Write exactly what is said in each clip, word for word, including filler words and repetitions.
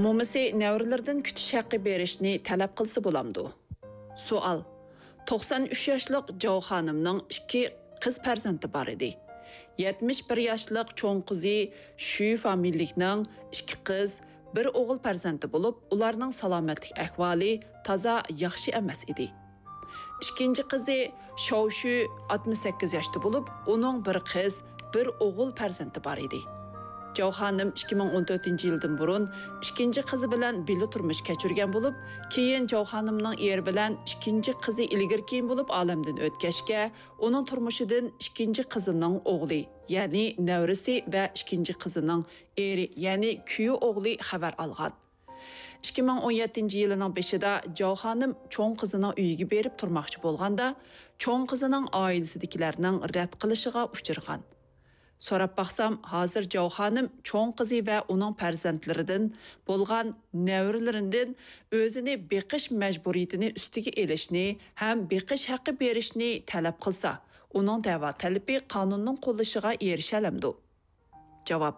مومىسى نەۋرىلىرىدىن كۈتۈش ھەققى بېرىشنى تەلەپ قىلسا بولامدۇ؟ سوئال. توقسان ئۈچ ياشلىق جاۋ خانىمنىڭ ئىككى قىز پەرزەنتى بار ئىدى. يەتمىش بىر ياشلىق چوڭ قىزى شۈ فامىلىلىكنىڭ ئىككى قىز، بىر ئوغۇل پەرزەنتى بولۇپ، ئۇلارنىڭ سالامەتلىك ئەھۋالى تازا ياخشى ئەمەس ئىدى. ئىككىنچى قىزى شاۋشۈ ئاتمىش سەككىز ياشتا بولۇپ، ئۇنىڭ بىر قىز، بىر ئوغۇل پەرزەنتى بار ئىدى. جاۋ خانىم ئىككى مىڭ ئون تۆتىنچى يىلدىن بۇرۇن ئىككىنچى قىزى بىلەن بىللە تۇرمۇش كەچۈرگەن بولۇپ، كېيىن جاۋ خانىمنىڭ ئېرى بىلەن ئىككىنچى قىزى ئىلگىرى كېيىن بولۇپ ئالەمدىن ئۆتكەچكە، ئۇنىڭ تۇرمۇشىدىن ئىككىنچى قىزىنىڭ ئوغلى، يەنى نەۋرىسى ۋە ئىككىنچى قىزىنىڭ ئېرى، يەنى كۈيە ئوغلى خەۋەر ئالغان. ئىككى مىڭ ئون يەتتىنچى يىلىنىڭ بېشىدا جاۋ خانىم چوڭ قىزىنىڭ ئۆيىگە بېرىپ تۇرماقچى بولغاندا، چوڭ قىزىنىڭ ئائىلىسىدىكىلەرنىڭ رەت قىلىشىغا ئۇچرىغان. سوراپ باقسام، ھازىر جاۋ خانىم چوڭ قىزى ۋە ئۇنىڭ پەرزەنتلىرىدىن بولغان نەۋرىلىرىدىن ئۆزىنى بېقىش مەجبۇرىيىتىنى ئۈستىگە ئېلىشنى ھەم بېقىش ھەققى بېرىشنى تەلەپ قىلسا، ئۇنىڭ دەۋا تەلىپى قانۇننىڭ قوللىشىغا ئېرىشەلەمدۇ؟ جاۋاب.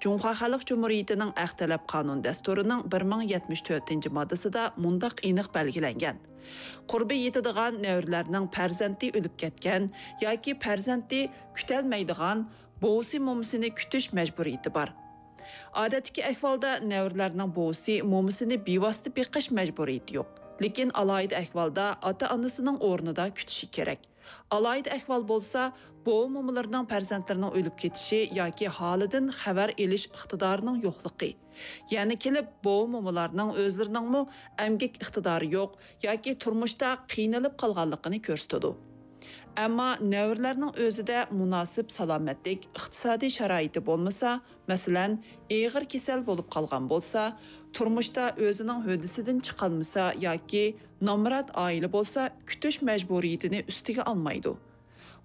جۇڭخۇا خەلق جۇمھۇرىيىتىنىڭ ھەق تەلەپ قانۇن دەستۇرىنىڭ بىر مىڭ يەتمىش تۆتىنچى ماددىسىدا مۇنداق ئېنىق بەلگىلەنگەن: قۇربى يېتىدىغان نەۋرىلەرنىڭ پەرزەنتى ئۆلۈپ كەتكەن ياكى پەرزەنتى كۈتەلمەيدىغان بوۋىسى مومىسىنى كۈتۈش مەجبۇرىيىتى بار. ئادەتتىكى ئەھۋالدا نەۋرىلەرنىڭ بوۋىسى مومىسىنى بىۋاسىتە بېقىش مەجبۇرىيىتى يوق، لېكىن ئالاھىدە ئەھۋالدا ئاتا-ئانىسىنىڭ ئورنىدا كۈتۈشى كېرەك. ئالاھىدە ئەھۋال بولسا، بوۋا مومىلىرىنىڭ پەرزەنتلىرىنىڭ ئۆلۈپ كېتىشى ياكى ھالىدىن خەۋەر ئېلىش ئىقتىدارىنىڭ يوقلۇقى، يەنە كېلىپ بوۋا مومىلارنىڭ ئۆزلىرىنىڭمۇ ئەمگەك ئىقتىدارى يوق ياكى تۇرمۇشتا قىينىلىپ قالغانلىقىنى كۆرسىتىدۇ. ئەمما نەۋرىلەرنىڭ ئۆزىدە مۇناسىپ سالامەتلىك، ئىقتىسادىي شارائىتى بولمىسا، مەسىلەن، ئېغىر كېسەل بولۇپ قالغان بولسا، تۇرمۇشتا ئۆزىنىڭ ھۆددىسىدىن چىقالمىسا ياكى نامرات ئائىلە بولسا، كۈتۈش مەجبۇرىيىتىنى ئۈستىگە ئالمايدۇ.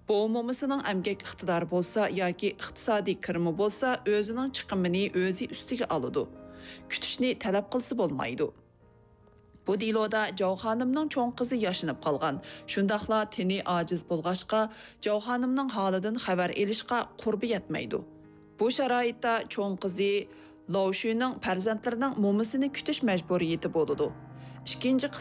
بوۋا مومىسىنىڭ ئەمگەك ئىقتىدارى بولسا ياكى ئىقتىسادىي كىرىمى بولسا، ئۆزىنىڭ چىقىمىنى ئۆزى ئۈستىگە ئالىدۇ. كۈتۈشنى تەلەپ قىلسا بولمايدۇ. بۇ دېلودا جاۋ خانىمنىڭ چوڭ قىزى ياشىنىپ قالغان، شۇنداقلا تېنى ئاجىز بولغاچقا، جاۋ خانىمنىڭ ھالىدىن خەۋەر ئېلىشقا قۇربى يەتمەيدۇ. بۇ شارائىتتا چوڭ قىزى لاۋشۈنىڭ پەرزەنتلىرىنىڭ مومىسىنى كۈتۈش مەجبۇرىيىتى بولىدۇ. ئىككىنچى